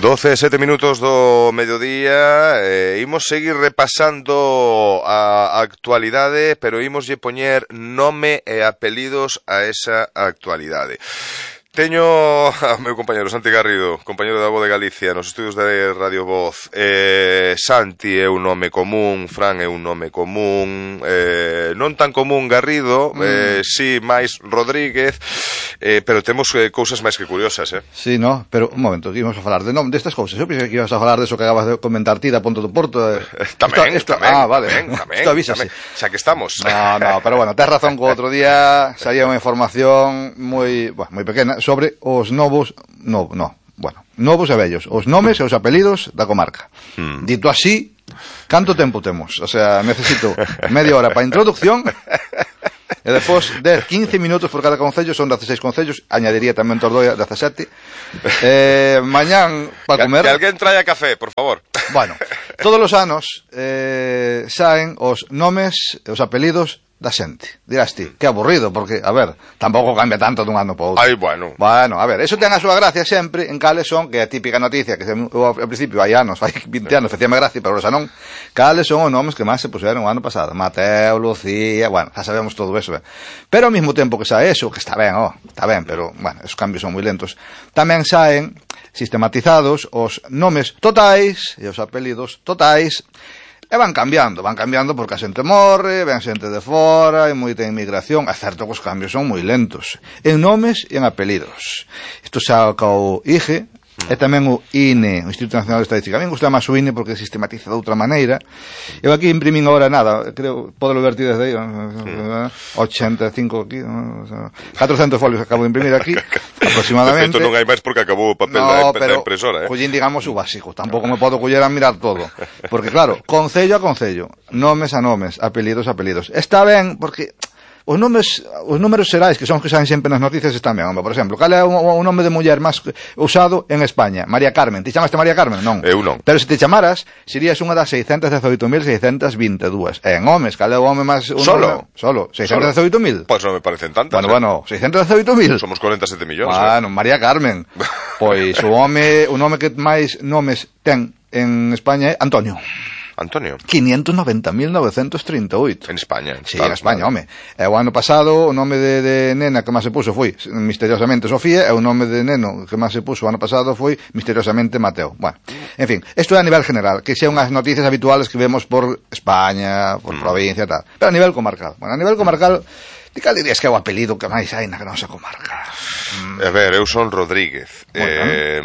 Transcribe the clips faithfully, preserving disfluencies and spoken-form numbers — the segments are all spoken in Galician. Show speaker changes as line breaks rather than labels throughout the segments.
doce e sete minutos do mediodía, eh, imos seguir repasando a actualidade, pero imos lle poñer nome e apelidos a esa actualidade. Teño a meu compañero Santi Garrido, compañero da Voz de Galicia, nos estudios de Radio Voz. eh, Santi é un nome común, Fran é un nome común, eh, non tan común Garrido, mm. eh, si máis Rodríguez, eh, pero temos eh, cousas máis que curiosas, eh?
Sí, no, pero un momento, que íbamos a falar de nome destas cousas. Eu pensei que ibas a falar de eso que acabas de comentar ti da Ponto do Porto. Eh.
Tamén, esto, esto, tamén,
ah, vale.
tamén, tamén,
esto avísase.
tamén, xa que estamos.
No, no, pero bueno, tes razón que o outro día salía unha información moi, bueno, moi pequena sobre os novos, no, no, bueno, novos e vellos, os nomes e os apelidos da comarca. Hmm. Dito así, canto tempo temos? O sea, necesito media hora para a introducción e depois de quince minutos por cada concello, son dezasseis concellos, añadiría tamén Tordoia dezasete. Eh, mañán para comer.
Que alguén traia café, por favor.
Bueno, todos os anos eh, saen os nomes e os apelidos da xente. Dirás ti, que aburrido, porque, a ver, tampouco cambia tanto dun ano para outro.
Ai, bueno.
Bueno, a ver, eso ten a súa gracia sempre en cales son, que é a típica noticia, que eu, ao principio hai anos, hai vinte anos, facíame gracia, pero xa non, cales son os nomes que máis se puseron o ano pasado. Mateo, Lucía, bueno, xa sabemos todo eso, ben. Pero ao mesmo tempo que sae eso, que está ben, oh, está ben, pero, bueno, esos cambios son moi lentos, tamén saen sistematizados os nomes totais e os apelidos totais. E van cambiando, van cambiando porque a xente morre, ven xente de fora, hai moita inmigración, é certo que os cambios son moi lentos, en nomes e en apelidos. Isto xa o I G E, e tamén o I N E, o Instituto Nacional de Estadística. A mí gusta máis o I N E porque sistematiza de outra maneira. Eu aquí imprimín agora nada, creo, podelo ver ti desde aí, ochenta e cinco aquí, catrocentos folios acabo de imprimir aquí, aproximadamente.
De feito non hai máis porque acabou o papel no, da, da impresora, eh?
Collín, digamos, o básico, tampouco me podo coller a mirar todo, porque claro, concello a concello, nomes a nomes, apelidos a apelidos. Está ben porque os nomes, os números xerais, que son os que saen sempre nas noticias, están ben. Por exemplo, cal é o, o nome de muller máis usado en España? María Carmen. Ti chamaste María Carmen? Non.
Eu non.
Pero se te chamaras, serías unha das seiscentos dezaoito mil seiscentos vinte e dúas. E en homes, cal é o home máis...
Solo?
Solo. seiscentos dezaoito mil.
Pois non me parecen tantas.
Bueno, eh? bueno, seiscentos dezaoito mil.
Somos cuarenta e sete millóns.
Bueno,
eh?
María Carmen. Pois o home, o nome que máis nomes ten en España é Antonio.
Antonio.
quinientos noventa mil novecentos trinta e oito.
En España.
Sí, claro, en España, home. E o ano pasado o nome de, de nena que máis se puso foi misteriosamente Sofía, e o nome de neno que máis se puso o ano pasado foi misteriosamente Mateo. Bueno, en fin, isto é a nivel general, que sean unhas noticias habituales que vemos por España, por mm. provincia e tal. Pero a nivel comarcal. Bueno, a nivel comarcal, ti cal dirías que é o apelido que máis hai na nosa comarca?
Mm. A ver, eu son Rodríguez. Eh,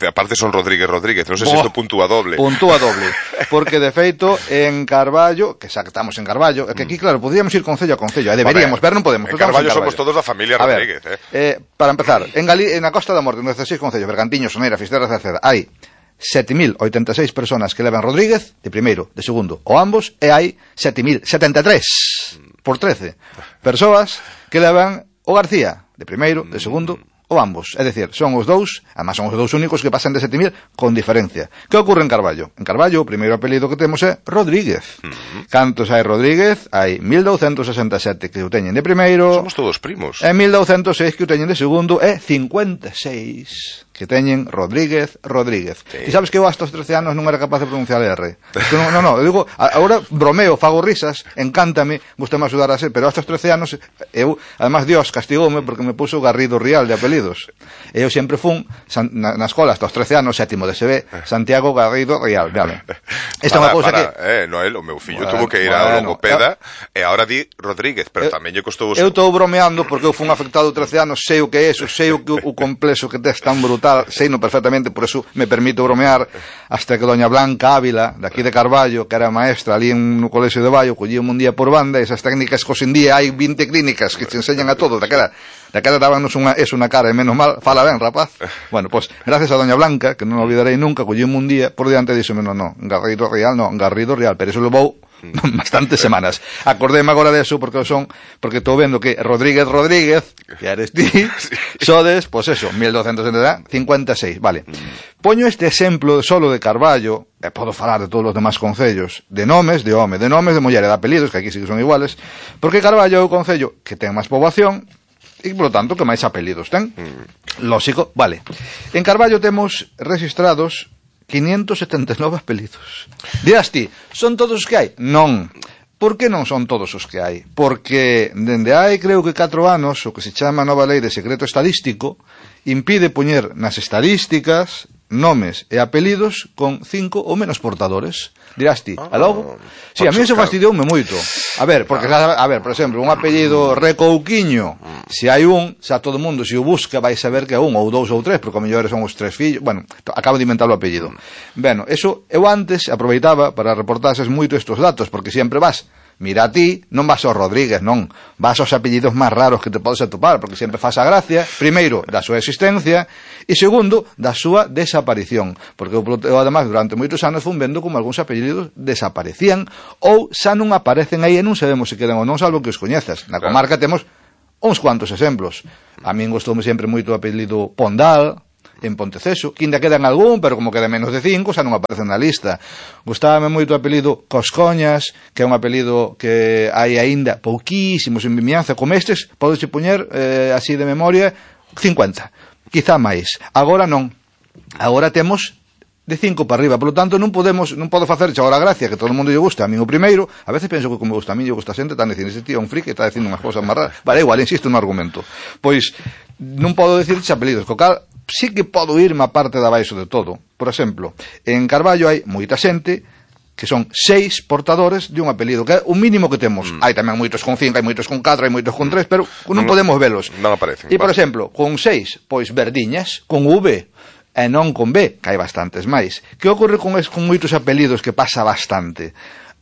aparte son Rodríguez Rodríguez, non sei se isto puntúa doble.
Puntúa doble. Porque, de feito, en Carballo, que xa que estamos en Carballo, é que aquí, claro, podríamos ir concello a concello, e deberíamos, pero non podemos.
En Carballo, en Carballo somos todos da familia Rodríguez.
A ver, eh. Eh, para empezar, en, Gali en a Costa da Morte, en dezasseis concellos, Bergantiños, Soneira, Fisterra, Cerceda, hai sete mil oitenta e seis personas que levan Rodríguez, de primeiro, de segundo, ou ambos, e hai sete mil setenta e tres, por trece, persoas que levan o García, de primeiro, de segundo, ou ambos. É dicir, son os dous, además son os dous únicos que pasan de sete mil con diferencia. Que ocorre en Carballo? En Carballo, o primeiro apelido que temos é Rodríguez. Uh-huh. Cantos hai Rodríguez? Hai mil douscentos sesenta e sete que o teñen de primeiro.
Somos todos primos.
E mil douscentos seis que o teñen de segundo, e cincuenta e seis que teñen Rodríguez, Rodríguez. Sí. E sabes que eu hasta os trece anos non era capaz de pronunciar R. Non, non, no, eu digo, agora bromeo, fago risas, encántame, gusta máis ajudar a ser, pero hasta os trece anos, eu, además Dios castigoume porque me puso Garrido Rial de apelidos. E eu sempre fun, na, na escola, hasta os trece anos, sétimo de S B, Santiago Garrido Rial, vale. Esta é unha cousa que...
Eh, Noel, o meu fillo bueno, tuvo que ir bueno, a logopeda, eu, e agora di Rodríguez, pero eu, tamén lle costou...
Eu estou bromeando porque eu fun afectado trece anos, sei o que é eso, sei o, que, o complexo que tes tan brutal, sei no perfectamente, por eso me permito bromear, hasta que doña Blanca Ávila, de aquí de Carballo, que era maestra ali en no colexio de Baio, collíamos un día por banda, esas técnicas que hoxe en día hai vinte clínicas que te enseñan a todo, daquela, daquela dábanos unha, eso na cara, e menos mal, fala ben, rapaz. Bueno, pues, gracias a doña Blanca, que non olvidarei nunca, collíamos un día, por diante dixome, no, no, Garrido Real, no, Garrido Real, pero eso levou bastantes semanas. Acordéme agora de eso porque son, porque estou vendo que Rodríguez Rodríguez, que eres ti, sodes, pois pues eso, mil douscentos cincuenta e seis, vale. Poño este exemplo solo de Carballo, e podo falar de todos os demás concellos, de nomes, de home, de nomes, de muller e de apelidos, que aquí sí que son iguales, porque Carballo é o concello que ten máis poboación, e, polo tanto, que máis apelidos ten. Mm. Lógico, vale. En Carballo temos registrados quinientos setenta e nove apelidos. Dirás ti, son todos os que hai? Non. Por que non son todos os que hai? Porque dende hai, creo que catro anos, o que se chama a nova lei de secreto estadístico impide poñer nas estadísticas nomes e apelidos con cinco ou menos portadores. Dirás ti, a logo? Si, sí, a mí se fastidioume moito. A ver, porque, a ver, por exemplo, un apelido Recouquiño, se hai un, xa todo mundo, se o busca, vai saber que é un, ou dous ou tres, porque a mellor son os tres fillos, bueno, acabo de inventar o apelido. Bueno, eso, eu antes aproveitaba para reportases moito estes datos, porque sempre vas, mira a ti, non vas ao Rodríguez, non, vas aos apellidos máis raros que te podes atopar, porque sempre faz a gracia, primeiro, da súa existencia, e segundo, da súa desaparición, porque eu, eu además, durante moitos anos fun vendo como algúns apellidos desaparecían, ou xa non aparecen aí e non sabemos se quedan ou non, salvo que os coñezas. Na comarca temos uns cuantos exemplos. A min gustoume sempre moito o apelido Pondal, en Ponteceso, que ainda quedan algún, pero como quedan menos de cinco, xa non aparecen na lista. Gustábame moito o apelido Coscoñas, que é un apelido que hai aínda pouquísimos en Vimianza, como estes, podes poñer, eh, así de memoria, cincuenta, quizá máis. Agora non. Agora temos de cinco para arriba, polo tanto non podemos, non podo facer agora a gracia que todo o mundo lle gusta, a mí o primeiro, a veces penso que como gusta a mí lle gusta a xente, tan dicindo, ese tío é un friki, está dicindo unhas cousas máis raras. Vale, igual, insisto no argumento. Pois, non podo dicir apelidos, co cal sí que podo irme a parte de abaixo de todo. Por exemplo, en Carballo hai moita xente que son seis portadores de un apelido, que é o mínimo que temos. Mm. Hai tamén moitos con cinco, hai moitos con catro, hai moitos con tres, pero non, non podemos velos.
Non aparecen.
E, por exemplo, con seis, pois Verdiñas, con V, e non con B, que hai bastantes máis. Que ocorre con, es, con moitos apelidos que pasa bastante?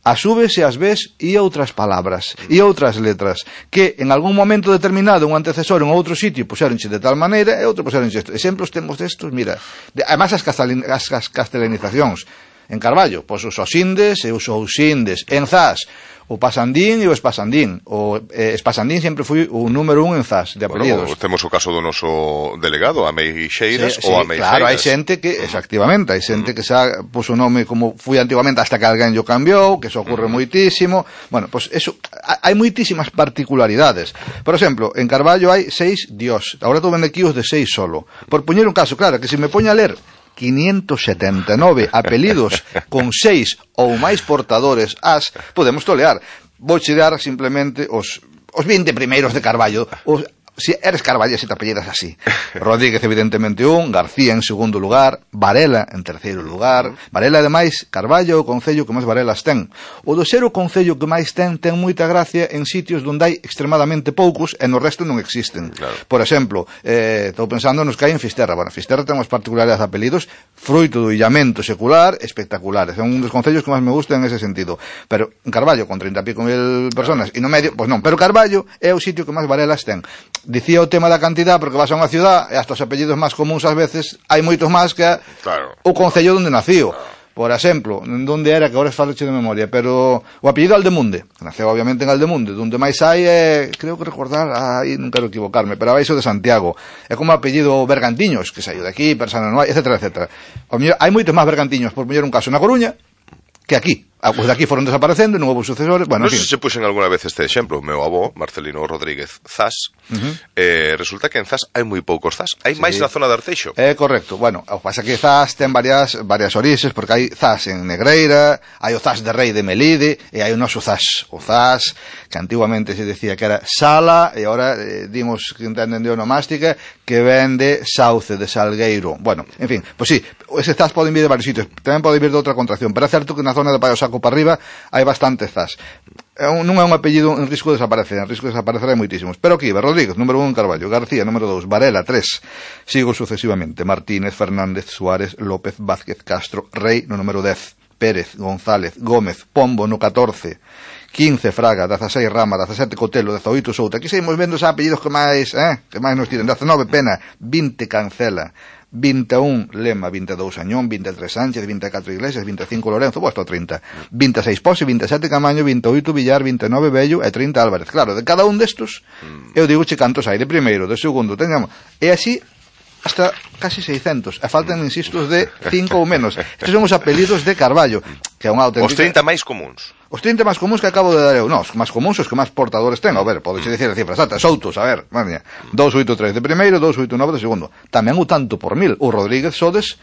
As Vs e as Bs e outras palabras, e outras letras, que en algún momento determinado un antecesor en outro sitio puxeronche de tal maneira e outro puxeronche isto. Exemplos temos destos, mira, de, además as, castelin, as, as castelanizacións. En Carballo, pois os osindes e os ousindes. En Zas, o pasandín e o espasandín. O eh, espasandín sempre foi o número un en Zas de apelidos.
Bueno, temos o caso do noso delegado, Ameixeiras,
sí, sí,
ou Ameixeiras.
Claro, hai xente que, efectivamente, hai xente que xa puso o nome como foi antigamente hasta que alguén yo cambiou, que eso ocorre uh -huh. moitísimo. Bueno, pois pues eso, hai moitísimas particularidades. Por exemplo, en Carballo hai seis dios. Agora estou vendo aquí os de seis solo. Por poñer un caso, claro, que se me poña a ler quinientos setenta e nove apelidos con seis ou máis portadores as, podemos tolear. Vou che dar simplemente os, os vinte primeiros de Carballo. Os, si eres Carballo, se te apellidas así. Rodríguez, evidentemente, un, García en segundo lugar, Varela en terceiro lugar. Varela, ademais, Carballo, o concello que máis Varelas ten. O do ser o concello que máis ten, ten moita gracia en sitios onde hai extremadamente poucos e no resto non existen. Claro. Por exemplo, eh, estou pensando nos que hai en Fisterra. Bueno, Fisterra ten unhas particularidades de apelidos fruito do illamento secular espectaculares. É un dos concellos que máis me gusta en ese sentido. Pero en Carballo, con treinta e pico mil personas, e no medio, pois non. Pero Carballo é o sitio que máis Varelas ten. Dicía o tema da cantidad, porque vas a unha ciudad e hasta os apellidos máis comuns ás veces hai moitos máis que claro. O concello onde nació. Por exemplo, onde era, que agora faloche de memoria, pero o apellido Aldemunde, que naceu obviamente en Aldemunde, onde máis hai é, creo que recordar, aí non quero equivocarme, pero abaixo de Santiago. É como o apellido Bergantiños, que saiu de aquí, Persana Noai, etcétera, etcétera. Hai moitos máis Bergantiños, por mellor un caso na Coruña, que aquí. Ah, pues de aquí foron desaparecendo, non houve sucesores. Bueno,
non sei se puxen alguna vez este exemplo. O meu avó, Marcelino Rodríguez Zas, uh -huh. eh, resulta que en Zas hai moi poucos Zas. Hai sí. máis na zona de Arteixo.
É eh, correcto. Bueno, o que pasa que Zas ten varias varias orixes, porque hai Zas en Negreira, hai o Zas de Rei de Melide, e hai o noso Zas. O Zas, que antiguamente se decía que era Sala, e agora eh, dimos que entenden de onomástica, que vende Sauce de Salgueiro. Bueno, en fin, pues sí, ese Zas pode vir de varios sitios. Tamén pode vir de outra contracción, pero é certo que na zona de Paio Saco para arriba hai bastante Zas. Non é un apellido en risco de desaparecer, en risco de desaparecer hai moitísimos. Pero aquí, Rodríguez, número un, Carballo, García, número dos, Varela, tres, sigo sucesivamente, Martínez, Fernández, Suárez, López, Vázquez, Castro, Rei, no número dez, Pérez, González, Gómez, Pombo, no catorce, quince, Fraga, dezasseis, Rama, dezasete, Cotelo, dezoito, Souta. Aquí seguimos vendo os apellidos que máis, eh, que máis nos tiren. dezenove, Pena, vinte, Cancela, vinte e un, Lema, vinte e dous, Añón, vinte e tres, Sánchez, vinte e catro, Iglesias, vinte e cinco, Lorenzo, posto trinta, vinte e seis, Pose, vinte e sete, Camaño, vinte e oito, Villar, vinte e nove, Bello e trinta, Álvarez. Claro, de cada un destos, eu digo che cantos hai, de primeiro, de segundo, teñamos, e así hasta casi seiscentos, e faltan, insisto, de cinco ou menos. Estes son os apelidos de Carballo, que que é unha auténtica...
Os trinta máis comuns.
Os trinta máis comuns que acabo de dar eu. Non, os máis comuns os que máis portadores ten. A ver, podes dicir a cifra exacta. Soutos, a ver, madre mía. doscientos ochenta e tres de primeiro, doscientos ochenta e nove de segundo. Tamén o tanto por mil. O Rodríguez sodes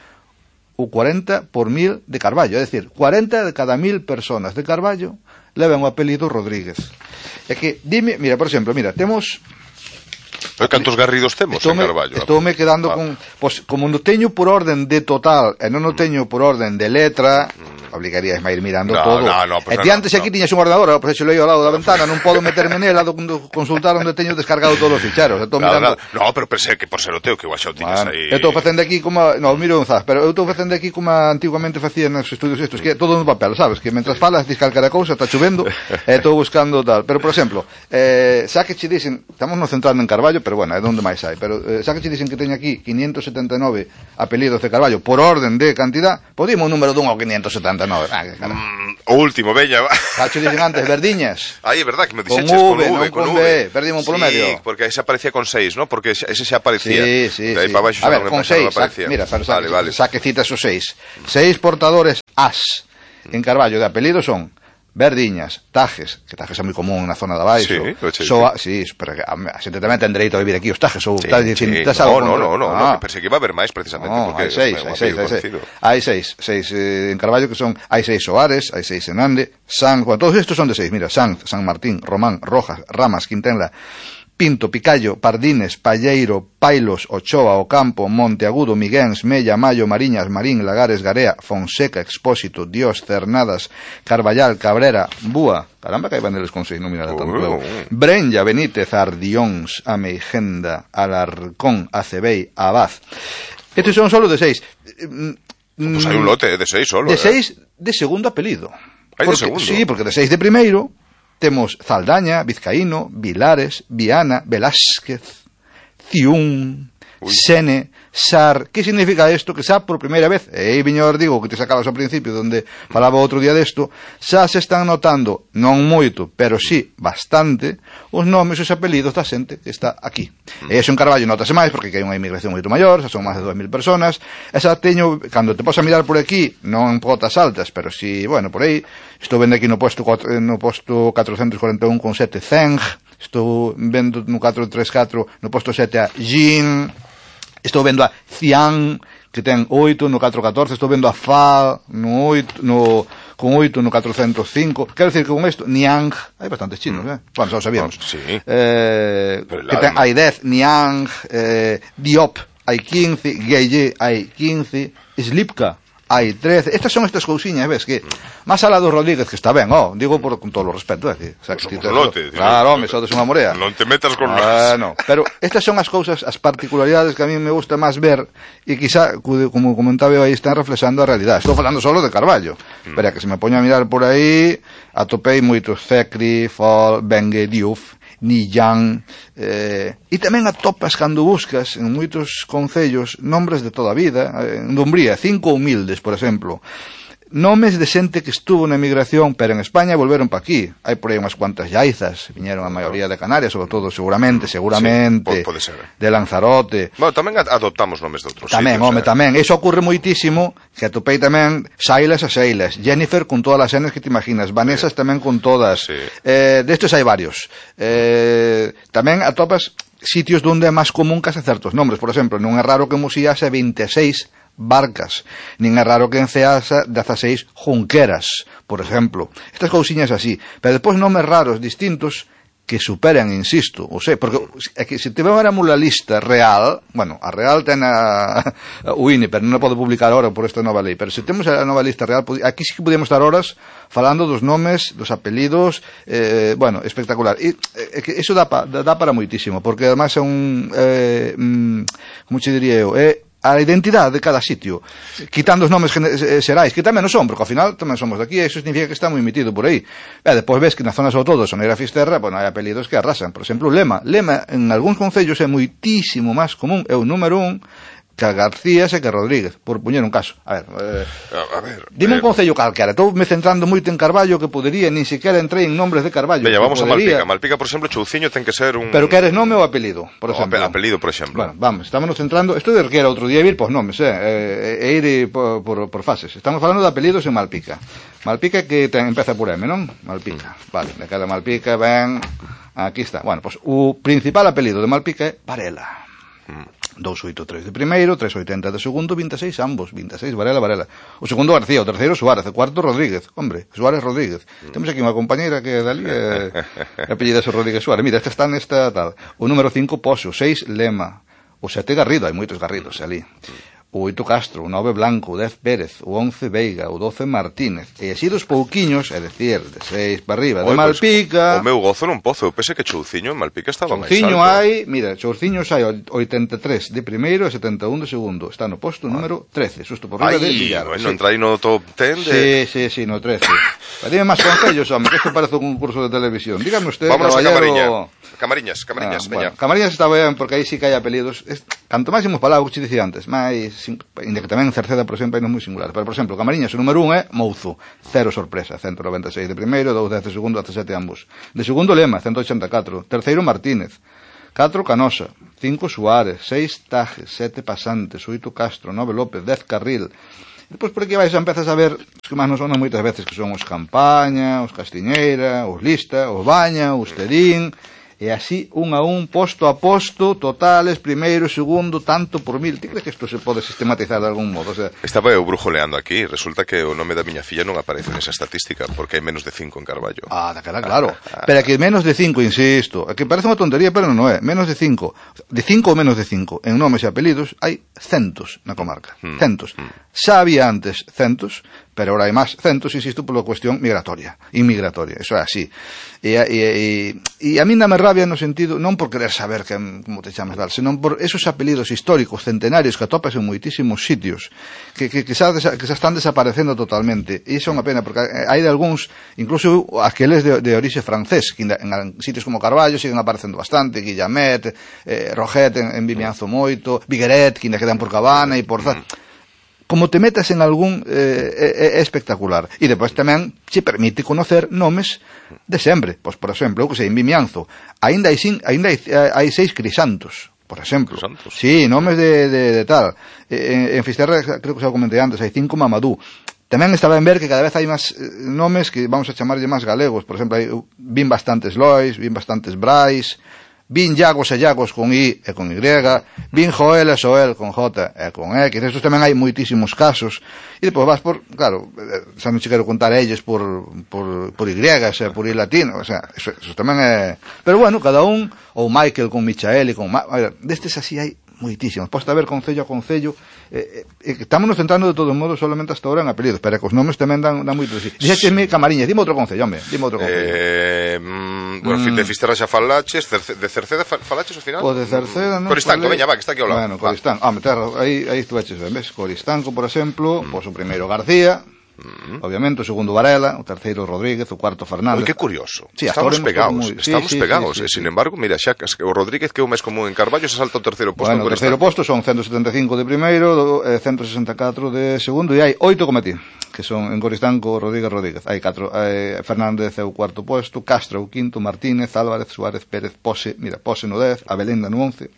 o cuarenta por mil de Carballo. É dicir, cuarenta de cada mil personas de Carballo levan o apelido Rodríguez. É que, dime, mira, por exemplo, mira, temos...
Cantos garridos temos en Carballo?
Estoume quedando ah. con... Pois, como non teño por orden de total e non o teño por orden de letra, mm. obligarías a ir mirando
no,
todo.
No, no,
e ti antes
no,
aquí
no.
tiñas un ordenador, pois xe leio ao lado da ventana, non podo meterme nela, consultar onde teño descargado todos os ficheros. Estou
claro,
mirando...
claro. No, pero pensei que por ser o teu que igual xa o tiñas
bueno,
aí.
Eu estou facendo aquí como... No, miro un zaz, pero eu estou facendo aquí como antiguamente facía nos estudios estos, que é todo no papel, sabes? Que mentras falas, dis calcara cousa, está chovendo, e estou buscando tal. Pero, por exemplo, eh, xa que che dicen, estamos nos centrando en Carballo, pero bueno, é onde máis hai, pero eh, xa que che dicen que teño aquí quinientos setenta e nove apelidos de Carballo por orden de cantidad, podíamos un número dun ao quinientos setenta e nove. Ah, que cara.
Mm, o último, veña.
Xa che dicen antes, Verdiñas.
Aí, é verdad que me
dixeches
con
V,
con V,
con, con
V.
V, perdimos por
sí,
medio.
porque aí se aparecía con seis, ¿no? Porque ese se aparecía.
Sí, sí,
de aí
sí.
para baixo
a ver,
non
con
me
seis,
aparecía.
Mira, pero
vale,
saque,
vale.
saque citas os seis. Seis portadores as en Carballo de apelidos son Verdiñas, Tajes, que Tajes é moi común na zona de abaixo.
Sí,
Soa, sí, pero a, a xente tamén ten dereito a vivir aquí os Tajes, ou
sí,
estás dicindo,
sí.
estás
No,
algo
no, no, no,
ah.
no, que pensei que iba a haber máis precisamente
No,
porque
hai seis,
é un
hai seis, hai seis.
conocido.
Hai seis, seis eh, en Carballo que son, hai seis Soares, hai seis en Ande, San, bueno, todos estos son de seis, mira, Sanz, San Martín, Román, Rojas, Ramas, Quintenla, Pinto, Picallo, Pardines, Palleiro, Pailos, Ochoa, Ocampo, Monteagudo, Miguéns, Mella, Mayo, Mariñas, Marín, Lagares, Garea, Fonseca, Expósito, Dios, Cernadas, Carballal, Cabrera, Búa, caramba que hai van deles con seis, non mira tanto luego, Brenya, Benítez, Ardións, Ameigenda, Alarcón, Acebei, Abad. Estes son solo de seis.
Pues hai un lote de seis solo.
De
eh.
seis de segundo apelido.
Hai de
Porque,
segundo?
Sí, porque de seis de primeiro temos Zaldaña, Vizcaíno, Vilares, Viana, Velázquez, Ciún, Uy. Sene, Sar. Que significa isto? Que xa por primeira vez, e aí viño os digo que te sacabas ao principio donde falaba outro día desto, xa se están notando, non moito, pero sí bastante, os nomes e os apelidos da xente que está aquí. Mm. E iso en Carballo notase máis porque hai unha inmigración moito maior, xa son máis de dúas mil personas, e xa teño, cando te posa mirar por aquí, non en cotas altas, pero si, bueno, por aí, estou vendo aquí no posto, no posto catrocentos cuarenta e un con sete Zeng, estou vendo no catrocentos treinta e catro no posto sete a Jin, estou vendo a Cian, que ten oito no catrocentos catorce, estou vendo a Fa no oito, no, con oito no catrocentos cinco, quero decir que con isto, Niang, hai bastantes chinos, eh? Bueno, xa o sabíamos.
Oh, sí.
Eh, que ten, hai dez, Niang, eh, Diop, hai quince, Gueye, hai quince, Slipka, hai trece. Estas son estas cousiñas, ves, que máis alá do Rodríguez, que está ben, ó, digo por, con todo o respeto, é dicir, o sea,
que
somos
un lote,
claro, home, sodes unha morea.
Non te metas con
ah,
nós.
No, pero estas son as cousas, as particularidades que a mí me gusta máis ver e quizá, como comentaba eu aí, están reflexando a realidade. Estou falando solo de Carballo, mm. pero que se me poño a mirar por aí, atopei moitos Cecri, Fol, Bengue, Diouf, Nillán, eh, e tamén atopas cando buscas en moitos concellos nombres de toda a vida, en Dumbría, cinco humildes, por exemplo, nomes de xente que estuvo na emigración, pero en España volveron pa aquí. Hai por aí unhas cuantas Yaizas, viñeron a maioría de Canarias, sobre todo, seguramente, seguramente,
sí, pode ser.
De Lanzarote.
Bueno, tamén adoptamos nomes de outros
tamén,
sitios.
Home,
eh.
tamén, eso ocurre moitísimo, que atopei tamén Sailas a Seilas, Jennifer con todas as Ns que te imaginas, Vanessas sí. tamén con todas.
Sí.
Eh, destes hai varios. Eh, tamén atopas sitios onde é máis común que hace certos nombres. Por exemplo, non é raro que Musillase veintiséis barcas, nin é raro que en Ceasa dezaseis junqueras, por exemplo. Estas cousiñas así, pero depois nomes raros distintos que superan, insisto, ou sei, porque é que se te vemos a lista real, bueno, a real ten a, a U I N E, pero non a pode publicar ahora por esta nova lei, pero se temos a nova lista real, aquí sí que podemos estar horas falando dos nomes, dos apelidos, eh, bueno, espectacular. E é que iso dá, pa, dá para moitísimo, porque además é un, eh, mm, como che diría eu, é a identidade de cada sitio, quitando os nomes xerais, que tamén non son, porque ao final tamén somos de aquí, e iso significa que está moi metido por aí. E depois ves que na zona sobre todo Soneira Fisterra, bueno, hai apelidos que arrasan. Por exemplo, Lema. Lema en algúns concellos é moitísimo máis común, é o número un, que Garcías e que Rodríguez, por puñer un caso. A ver, eh,
a, a ver
dime
eh,
un concello calquera. Estou me centrando moito en Carballo, que podería, nin sequera entrei en nombres de Carballo.
Veña, vamos
podería...
a Malpica. Malpica, por exemplo, Chouciño ten que ser un...
Pero queres nome ou apelido, por
no,
exemplo?
apelido, por exemplo.
Bueno, vamos, estamos centrando... Isto de que era outro día vir, pois nomes, eh, e ir por, por, por fases. Estamos falando de apelidos en Malpica. Malpica que ten, empeza por M, non? Malpica. Mm. Vale, de cada Malpica ven... Aquí está. Bueno, pois o principal apelido de Malpica é Varela. Mm. doscientos ochenta e tres de primeiro, trescientos oitenta de segundo, vinte e seis ambos, vinte e seis Varela, Varela. O segundo García, o terceiro Suárez, o cuarto Rodríguez, hombre, Suárez Rodríguez. Mm. Temos aquí unha compañeira que dali é eh, apellida Rodríguez Suárez. Mira, esta está nesta tal. O número cinco Pozo, o seis Lema, o sete Garrido, hai moitos Garridos ali. O oito Castro, o nove Blanco, o dez Pérez, o once Veiga, o doce Martínez. E así dos pouquiños, é dicir, de seis para arriba, de Malpica...
Pues, o meu gozo non pozo, eu pensei que Chouciño en Malpica estaba máis alto.
Chouciño hai, mira, Chouciños hai oitenta e tres de primeiro e setenta e un de segundo. Está no posto ah. número trece, susto por riba de Villar.
Ai,
sí.
Non entrai no top ten de...
Sí, sí, sí, no trece. Dime máis concellos, home, que isto parece un concurso de televisión. Dígame usted,
vámonos
caballero...
a Camariñas. Camariñas, Camariñas,
ah,
veña.
Bueno, Camariñas está ben, porque aí sí que hai apelidos. Es, canto máis imos palabras, que te dicía antes, máis... Inda que tamén en Cerceda, por exemplo, hai non moi singulares. Pero, por exemplo, Camariñas, o número un é Mouzo, cero sorpresa, ciento noventa e seis de primeiro, dous de segundo, dezasete ambos. De segundo Lema, ciento oitenta e catro. Terceiro Martínez, catro Canosa, cinco Suárez, seis Tajes, sete Pasantes, oito Castro, nove López, dez Carril. Depois por aquí vais a empezas a ver os que máis nos sonan moitas veces, que son os Campaña, os Castiñeira, os Lista, os Baña, os Terín, e así un a un, posto a posto, totales, primeiro, segundo, tanto por mil. Ti crees que isto se pode sistematizar de algún modo? O sea,
estaba eu brujoleando aquí, resulta que o nome da miña filla non aparece nesa estatística, porque hai menos de cinco en Carballo.
Ah, da cara, claro. Pero que menos de cinco, insisto, que parece unha tontería, pero non é. Menos de cinco. De cinco ou menos de cinco, en nomes e apelidos, hai centos na comarca. Mm. Centos. Mm. Xa había antes centos, pero ahora hai máis centos, insisto, pola cuestión migratoria, inmigratoria, eso é así. E, e, e, e a mí dame rabia no sentido, non por querer saber que, como te chamas tal, senón por esos apelidos históricos, centenarios, que atopas en moitísimos sitios, que, que, que, xa, que xa están desaparecendo totalmente. E iso é unha pena, porque hai de algúns, incluso aqueles de, de orixe francés, que en, en sitios como Carballo siguen aparecendo bastante, Guillamet, eh, Roget en, en Vimianzo moito, Vigueret, que ainda quedan por Cabana e por tal. Como te metas en algún eh, é, é espectacular. E depois tamén se permite conocer nomes de sempre. Pois, por exemplo, que sei, en Vimianzo, aínda hai, sin, aínda hai, hai seis Crisantos, por exemplo.
Crisantos?
Sí, nomes de, de, de tal. En, en Fisterra, creo que xa o comentei antes, hai cinco Mamadou. Tamén estaba en ver que cada vez hai máis nomes que vamos a chamarlle máis galegos. Por exemplo, hai, vin bastantes Lois, vin bastantes Brais, vin Llagos e Llagos con I e con Y, vin Joel e Soel con J e con X, estos tamén hai moitísimos casos, e depois vas por, claro, xa non che quero contar elles por, por, por Y, e por I latino, o sea, eso, eso tamén é... Pero bueno, cada un, ou Michael con Michael e con... Ma... Destes así hai moitísimos, posta ver concello a concello, eh, eh, estamos nos centrando de todos modos solamente hasta ahora en apelidos, pero que os nomes tamén dan, dan moito de sí. Dixécheme Camariñas, dime outro concello, home, dime outro concello.
Eh, mm, bueno, mm. de Fisterra xa falaches, de Cerceda falaches ao final?
O de Cerceda, non?
Coristanco, veña, va, que está aquí ao lado.
Bueno, Coristanco, ah, meter, aí, aí estuveches, ves, Coristanco, por exemplo, mm. pois o primeiro García, Mm. obviamente, o segundo Varela, o terceiro Rodríguez, o cuarto Fernández.
Oi, que curioso.
Sí,
estamos pegados, muy... estamos
sí, sí,
pegados,
sí, sí,
e sin
sí.
embargo, mira, xa o Rodríguez que é o máis común en Carballo se salta o terceiro posto.
Bueno, o terceiro posto son ciento setenta e cinco de primeiro, eh, ciento sesenta e catro de segundo, e hai oito como ti, que son en Coristanco, Rodríguez, Rodríguez. Hai catro, eh, Fernández é o cuarto posto, Castro o quinto, Martínez, Álvarez, Suárez, Pérez, Pose, mira, Pose no dez, Abelenda no once,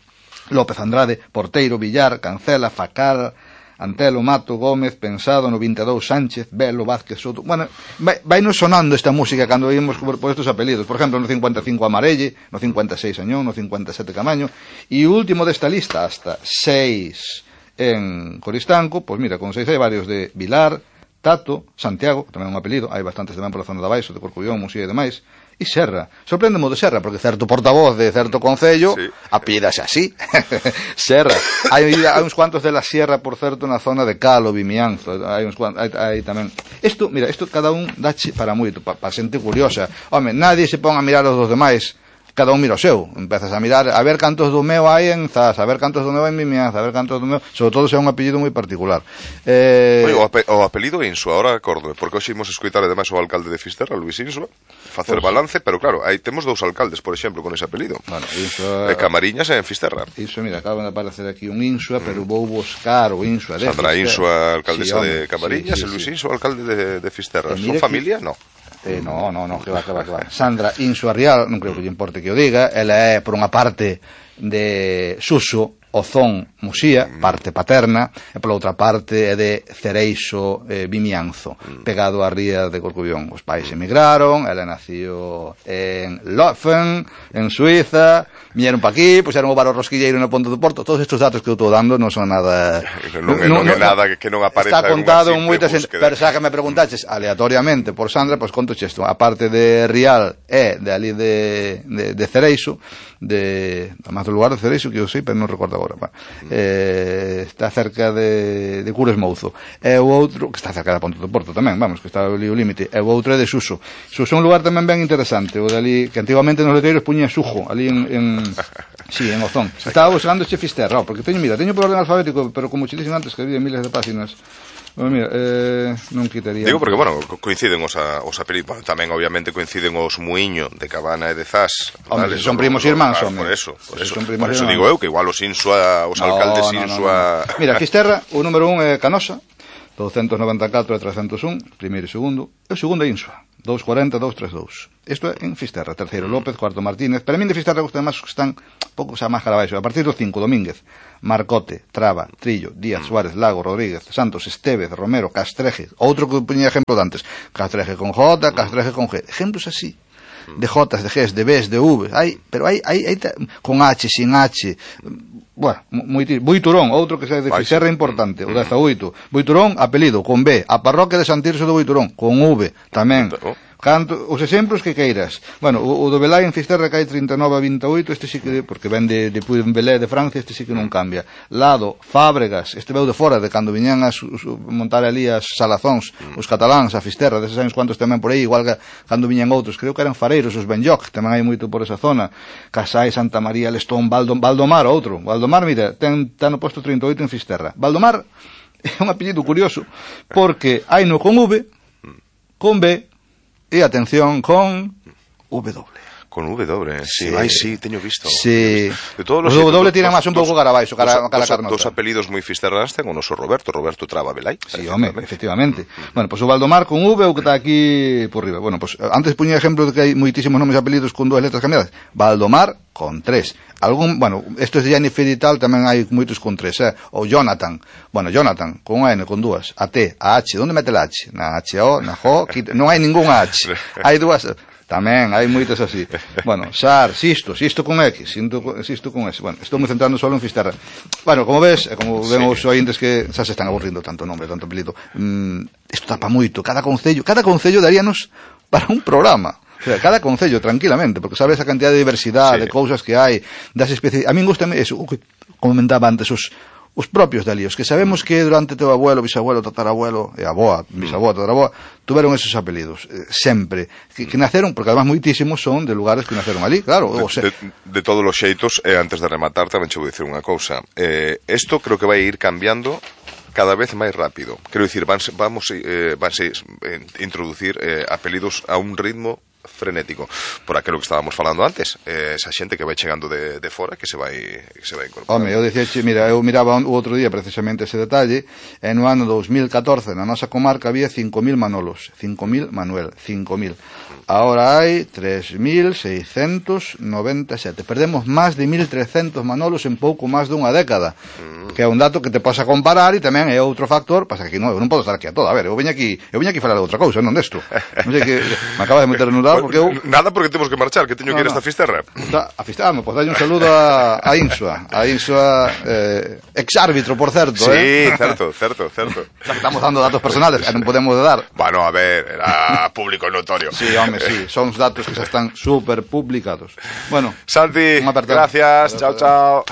López Andrade, Porteiro, Villar, Cancela, Facal, Antelo, Mato, Gómez, Pensado, no vinte e dous, Sánchez, Belo, Vázquez, Soto. Bueno, vai, vai nos sonando esta música cando vimos por, por estos apelidos. Por exemplo, no cincuenta e cinco Amarelle, no cincuenta e seis Añón, no cincuenta e sete Camaño, e o último desta lista, hasta seis en Coristanco, pois mira, con seis hai varios de Vilar, Tato, Santiago, que tamén é un apelido, hai bastantes tamén pola zona de Baixo, de Corcubión, Musía e demais, e Serra. Sorprendemo de Serra, porque certo portavoz de certo concello sí. apídase así. Serra. Hai, hai uns cuantos de la Sierra, por certo, na zona de Calo, Vimianzo, hai uns cuantos, hai, hai tamén. Isto, mira, isto cada un dache para moito, para pa xente curiosa. Home, nadie se pon a mirar os dos demais, cada un mira o seu, empezas a mirar a ver cantos do meu hai en Zas, a ver cantos do meu hai en Vimianzo, a ver cantos do meu, sobre todo se é un apellido moi particular.
Eh... Oye, o, ape o apelido Insua, ahora acordo, porque hoxe imos escoitar ademais o alcalde de Fisterra, Luis Insua, facer pues, balance, pero claro, aí temos dous alcaldes, por exemplo, con ese apelido. Bueno, Insua... E Camariñas en Fisterra.
Iso, mira, acaba de aparecer aquí un Insua, mm. pero vou buscar o Insua de
Sandra Insua, alcaldesa sí, de Camariñas, sí, sí, e Luis sí. Insua, alcalde de, de Fisterra. Son familia? Que... No.
Eh, no, no, no, que va, que va, que va. Sandra Insua Rial, non creo que lle importe que o diga, ela é, por unha parte, de Suso, Ozón, Musía, parte paterna, e pola outra parte é de Cereixo, eh, Vimianzo, pegado á ría de Corcubión. Os pais emigraron, ela nació en Löwen, en Suiza, viñeron pa aquí, puxeron o bar o rosquilleiro no Ponte do Porto. Todos estes datos que eu estou dando non son nada...
Non, non, non é nada que non apareza.
Está contado en moitas... Pero xa que me preguntaches aleatoriamente por Sandra, pois pues, conto isto. A parte de Rial é de ali de, de, de Cereixo, de... Además do lugar de Cereixo, que eu sei, pero non recordo agora. Bueno, eh, está cerca de, de Cures Mouzo. E o outro, que está cerca da Ponte do Porto tamén, vamos, que está ali o límite. E o outro é de Suso. Suso é un lugar tamén ben interesante, o de ali, que antiguamente nos letreiros puña Sujo, ali en... en sí, en Ozón. Estaba buscando che Fisterra, oh, porque teño, mira, teño por orden alfabético, pero como che dixen antes que había miles de páginas. Bueno, mira, eh, non quitaría...
Digo porque, bueno, coinciden os, a, os apelidos, bueno, tamén obviamente coinciden os Muiño de Cabana e de Zas.
Hombre, vale, son primos irmáns,
claro, por eso, por eso, por eso digo eu, que igual os Insua, os no, alcaldes no, Insua...
No, no. Mira, Fisterra, o número un é Canosa, douscentos noventa e catro e trescentos un, primeiro e segundo, e o segundo é Insua, doscientos cuarenta e doscientos treinta e dous. Isto é en Fisterra, terceiro López, cuarto Martínez. Para min de Fisterra gustan máis que están pouco xa máis cara baixo. A partir do cinco, Domínguez, Marcote, Traba, Trillo, Díaz, Suárez, Lago, Rodríguez, Santos, Estevez, Romero, Castreje. Outro que poñía ejemplo de antes. Castreje con J, Castreje con G. Ejemplos así. De Jotas, de Gs, de Bs, de V. Hai, pero hai, hai, hai con H, sin H. Bueno, moi Buiturón, outro que xa de Fisterra importante, o dezaoito. Buiturón, apelido, con B. A parroquia de San Tirso de Buiturón, con V, tamén. Canto, os exemplos que queiras. Bueno, o, o do Belai en Fisterra que hai trinta e nove a vinte e oito, este sí que, porque ven de, de Puy-en-Velay de Francia, este sí que non cambia. Lado, Fábregas, este veu de fora, de cando viñan a su, su, montar ali as salazóns, os cataláns, a Fisterra, deses anos cuantos tamén por aí, igual que cando viñan outros, creo que eran fareiros, os Benlloc, tamén hai moito por esa zona. Casai, Santa María, Lestón, Valdom, Valdomar, outro. Valdomar, mira, ten, ten no posto trinta e oito en Fisterra. Valdomar é un apellido curioso, porque hai no con V, con B, e atención con W.
Con W, sí, sí. Ai, sí, teño visto.
Sí.
De todos
os W tiran máis un pouco cara abaixo, cara, cara carnota.
Dos apelidos moi fisterras ten o noso Roberto, Roberto Traba Belai.
Sí, home, efectivamente. Mm. Bueno, pois pues o Valdomar con V, o que está aquí por riba. Bueno, pois pues, antes puña exemplo de que hai moitísimos nomes e apelidos con dúas letras cambiadas. Valdomar con tres. Algún, bueno, estos de Jennifer e tal tamén hai moitos con tres, eh? O Jonathan. Bueno, Jonathan, con N, con dúas. A T, a H. Onde mete a H? Na H O, na J O, non hai ningún H. Hai dúas... Tamén, hai moitas así. Bueno, Sar, Sisto, Sisto con X, Sisto con S. Bueno, estou me centrando solo en Fisterra. Bueno, como ves, e como ven os ointes que xa se están aburrindo tanto nome, tanto apelido, mm, isto tapa moito. Cada concello, cada concello daríanos para un programa. O sea, cada concello, tranquilamente, porque sabes a cantidad de diversidade, sí, de cousas que hai, das especies... A min gustame eso, o que comentaba antes, os... os propios de ali, os que sabemos que durante teu abuelo, bisabuelo, tatarabuelo e aboa, bisaboa, tataraboa, tuveron esos apelidos, eh, sempre, que, que naceron, porque además moitísimos son de lugares que naceron ali, claro.
De,
o sea,
de, de todos os xeitos, eh, antes de rematar, tamén che vou dicir unha cousa. Eh, esto creo que vai ir cambiando cada vez máis rápido. Quero dicir, vanse, vamos eh, vanse eh, introducir eh, apelidos a un ritmo frenético, por aquilo que estábamos falando antes, eh, esa xente que vai chegando de, de fora que se vai que se vai incorporar.
Home, eu dicía, mira, eu miraba o outro día precisamente ese detalle, e no ano dos mil catorce na nosa comarca había cinco mil Manolos, cinco mil Manuel, cinco mil. Ahora hai tres mil seiscentos noventa e sete. Perdemos máis de mil trescentos Manolos en pouco máis dunha década, mm. que é un dato que te posa comparar, e tamén é outro factor, pasa que non, eu non podo estar aquí a todo. A ver, eu veño aquí, eu veño aquí falar de outra cousa, non desto. Non sei que me acaba de meter no lado. Porque eu...
Nada, porque temos que marchar, que teño no, que ir a esta Fisterra.
A Fisterra, pois dalle un saludo a, a Insua, a Insua, eh, ex-árbitro, por certo.
Sí,
eh?
certo, certo, certo.
Estamos dando datos personales, non podemos dar.
Bueno, a ver, era público notorio.
Sí, home, sí, son datos que xa están super publicados. Bueno,
Santi, gracias, chao, chao.